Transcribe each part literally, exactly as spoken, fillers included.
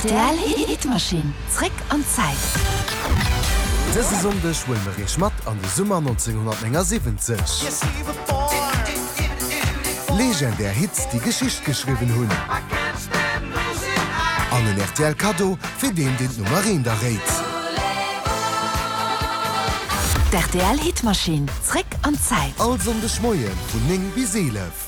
Rtl Hitmaschinn, zréck an d'Zäit. Dëse Sonndeg huele mer iech mat an de Summer nonzénghunnertnéngasiwwenzeg. Legendär Hits, déi Geschicht geschriwwen hunn. An en rtl Kaddo fir deen, deen d'Nummer eent erréit. D'RTL Hitmaschinn, zréck an d'Zäit. All Sonndeg Moie vun néng bis eelef.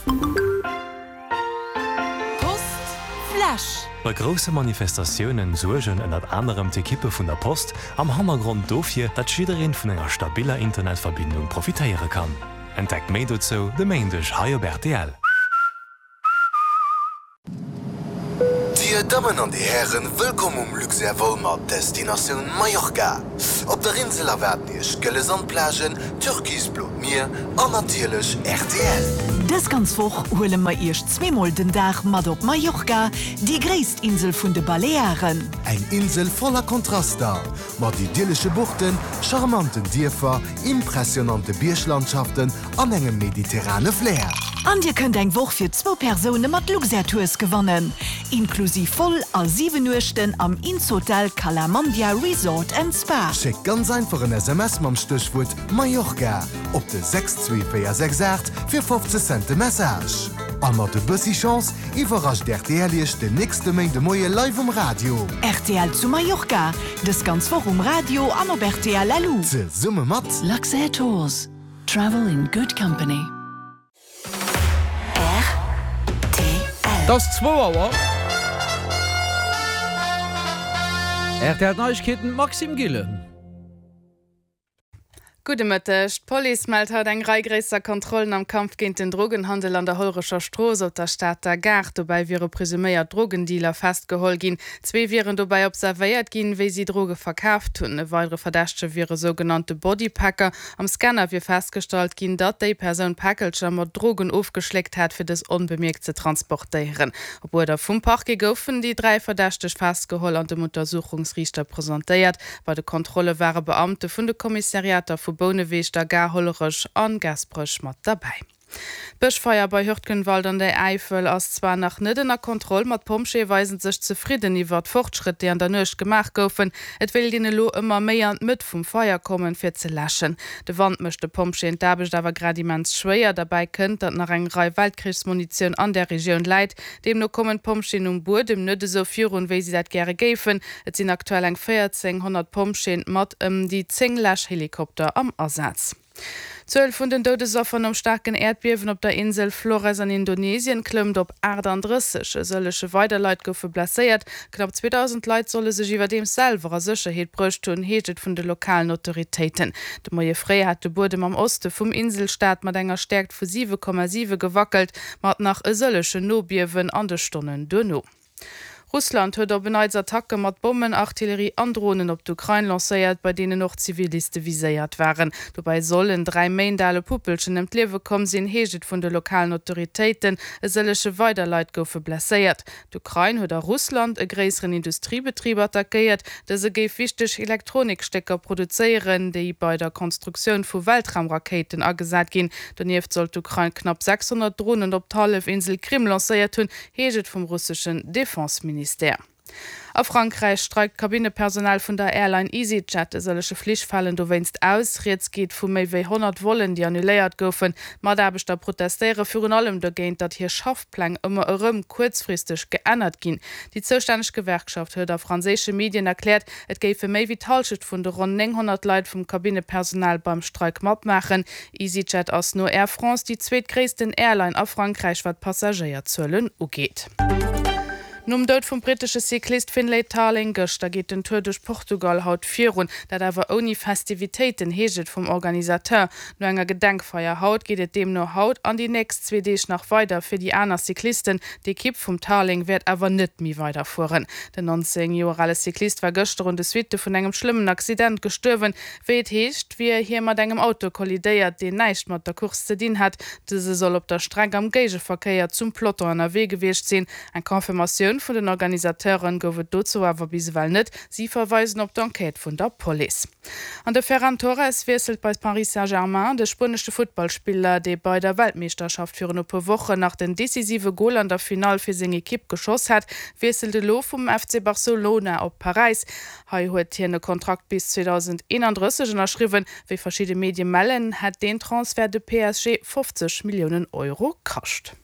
Post Flash. Bei grousse Manifestatiounen suergen ënnert anerem d'Ekippe vun der Post am Hannergrond dofir, datt jiddereen vun enger stabiller Internetverbindung profitéiere kann. Entdeckt méi dozou de Méindeg hei op rtl. Dir Dammen an Dir Hären, wëllkomm um Luxair-Vol mat Destinatioun Mallorca. Op der Insel erwaarden Iech gëlle Sandplagen, türkisblot Mier an natierlech rtl. Dës ganz Woch huele mer Iech zweemol den Dag mat op Mallorca, déi gréisst Insel vun de Balearen. Eng Insel voller Kontraster, mat idyllesche Buchten, charmanten Dierfer, impressionante Bierglandschaften an engem mediterrane Flair. An Dir kënnt eng Woch fir zwou Persoune mat Luxair Tours gewannen, inklusiv Vol a siwen Nuechten am Insotel Cala Mandia Resort and Spa. Schéckt ganz einfach en S M S mam Stéchwuert Mallorca op de sechs zwee véier sechs aacht fir fofzeg Cent de Message. A mat e bëssi Chance iwwerrascht rtl Iech den nächste Méinde Moie live um Radio. Rtl zu Mallorca, dës ganz Woch um Radio an op rtl L U. Zesumme mat Luxair Tours. Travel in good company. R T L. Et ass zwou Auer. R T L Neiegkeeten, Maxime Gillen. Gudde Mëtteg. D'Police mellt haut eng Rei gréisser Kontrollen am Kampf géint den Drogenhandel an der Hollerecher Strooss op der Stater Gare. Dobäi wiere presuméiert Drogendealer festgeholl ginn. Zwee wieren dobäi observéiert ginn, wéi si Droge verkaaft hunn. E weidere Verdächtege wier e sougenannte Bodypacker. Am Scanner wier festgestallt ginn, datt déi Persoun Päckelcher mat Drogen ofgeschléckt hat, fir dës onbemierkt ze transportéieren. Op Uerder vum Parquet goufen déi dräi Verdächteg festgeholl an dem Untersuchungsriichter presentéiert. Bei de Kontrolle ware Beamte vun de Kommissariater vu Bouneweg, der Gare, Hollerech an Gaasperech mat derbäi. D'Bëschfeier bei Hürtgenwald an der Äifel ass zwar nach net ënner Kontroll, ma d'Pompjeeë weisen sech zefridden iwwer d'Fortschrëtt, déi an der Nuecht gemaach goufen. Et wéilt een elo ëmmer méi an d'Mëtt vum Feier kommen, fir ze läschen. De Wand mécht de Pompjeeën d'Aarbecht awer grad immens schwéier. Derbäi kënnt, datt nach eng Rei Weltkrichsmunitioun an der Regioun läit. Deemno kommen d'Pompjeeën um Buedem net esou virun, wéi si dat gäre géifen. Et sinn aktuell eng véierzénghonnert Pompjeeën mat ëm déi zéng Läschhelikopter am Asaz. D'Zuel vun den Doudesaffer nom staarken Äerdbiewen op der Insel Flores an Indonesien klëmmt op achtandrësseg. E sëllege weider Leit goufe blesséiert. Knapp zweedausend Leit solle sech iwwerdeems selwer a Sécherheet bruecht hunn, heescht et vun de lokalen Autoritéiten. De Moie fréi hat de Buedem am Oste vum Inselstaat mat enger Stäerkt vu siwe Komma siwe gewackelt, mat nach e sëllegen Nobiewen an de Stonnen duerno. Russland huet op en Neits Attacke mat Bommen, Artillerie an Dronen op d'Ukrain lancéiert, bei deenen och Ziviliste viséiert waren. Dobäi soll en dräi Méint ale Puppelchen ëm d'Liewe komm sinn, heescht et vun de lokalen Autoritéiten. E sëllege weider Leit goufe blesséiert. D'Ukrain huet a Russland e gréisseren Industriebetrib attackéiert. Dëse géif wichteg Elektronikstécker produzéieren, déi bei der Konstruktioun vu Weltraumrakéiten agesat ginn. Donieft soll d'Ukrain knapp sechshonnert Dronen op d'Hallefinsel Krim lancéiert hunn, heescht et vum russeschen Defenseministère. Ministère. A Frankräich streikt d'Kabinnepersonal vun der Airline EasyJet. E sëllege Flich falen dowéinst aus. Rieds geet vu méi wéi honnert Vollen, déi annuléiert goufen. D'Mataarbechter protestéiere virun allem dogéint, datt hir Schaffpläng ëmmer erëm kuerzfristeg geännert ginn. Déi zoustänneg Gewerkschaft huet a franséische Medien erkläert, et géife méi wéi d'Hallschent vun de ronn nénghonnert Leit vum Kabinnepersonal beim Streik matmaachen. EasyJet ass no Air France déi zweetgréissten Airline a Frankräich, wat d'Passagéierzuelen ugeet. Nom Doud vum brittesche Cyclist Finlay Tarling gëschter geet den Tour duerch Portugal haut virun. Dat awer ouni Festivitéiten, heescht et vum Organisateur. No enger Gedenkfeier haut geet et deemno haut an déi nächst zwee Deeg nach weider fir déi aner Cyclisten. D'Ekipp vum Tarling wäert awer net méi weiderfueren. Den nonzéng Joer ale Cyclist war gëschter un de Suitte vun engem schlëmmen Accident gestuerwen. Wéi et heescht, wier hie mat engem Auto kollidéiert, deen näischt mat der Course ze dinn hat. Dëse soll op der Streck am Géigeverkéier zum Peloton ënnerwee gewiescht sinn. Eng Confirmatioun Reaktioun vun den Organisateuren gouf et dozou awer bis ewell net. Si verweisen op d'Enquête vun der Police. An de Ferran Torres wiesselt bei Paris Saint-Germain. De spuenesche Futtballspiller, dee bei der Weltmeeschterschaft virun e puer Wochen nach den decisive Gol an der Finall fir seng Ekipp geschoss hat, wiesselt elo vum F C Barcelona op Paräis. Hei huet hien e Kontrakt bis zweedausendeenandrësseg ënnerschriwwen. Wéi verschidde Medie mellen, hätt deen Transfert de P S G fofzeg Milliounen Euro kascht.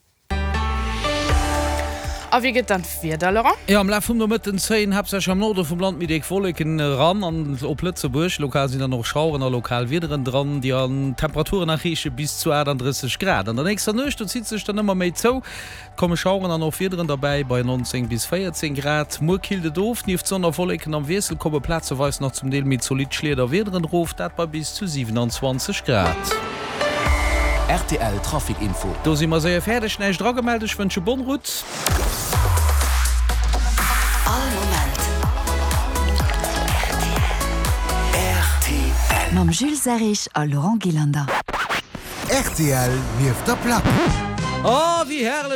A wéi gëtt dann d'Wieder, Laurent? Jo, am Laf vum Nomëtten zéien haaptsächlech am Norde vum Land méi déck Wolleken eran an op Lëtzebuerg. Lokal sinn dann och Schaueren a lokal Wiederen dran, déi an Temperaturen erreeche bis zu achtandrësseg Grad. An der nächster Nuecht, do zitt sech dann ëmmer méi zou, komme Schaueren an och Wiederen derbäi bei neunzéng bis véierzéng Grad. Muer killt et of, nieft Sonn a Wolleken am Wiessel komme plazeweis nach zum Deel méi zolidd Schliederwiederen erof, dat bei bis zu siewenanzwanzeg Grad. R T L Trafic Info. Do si mer séier fäerdeg, näischt eragemellt, ech wënsche bonne route. All Moment R T L. Mam Jules Serrig a Laurent Gillander. R T L nieft der Plack. Oh, wéi herrlech!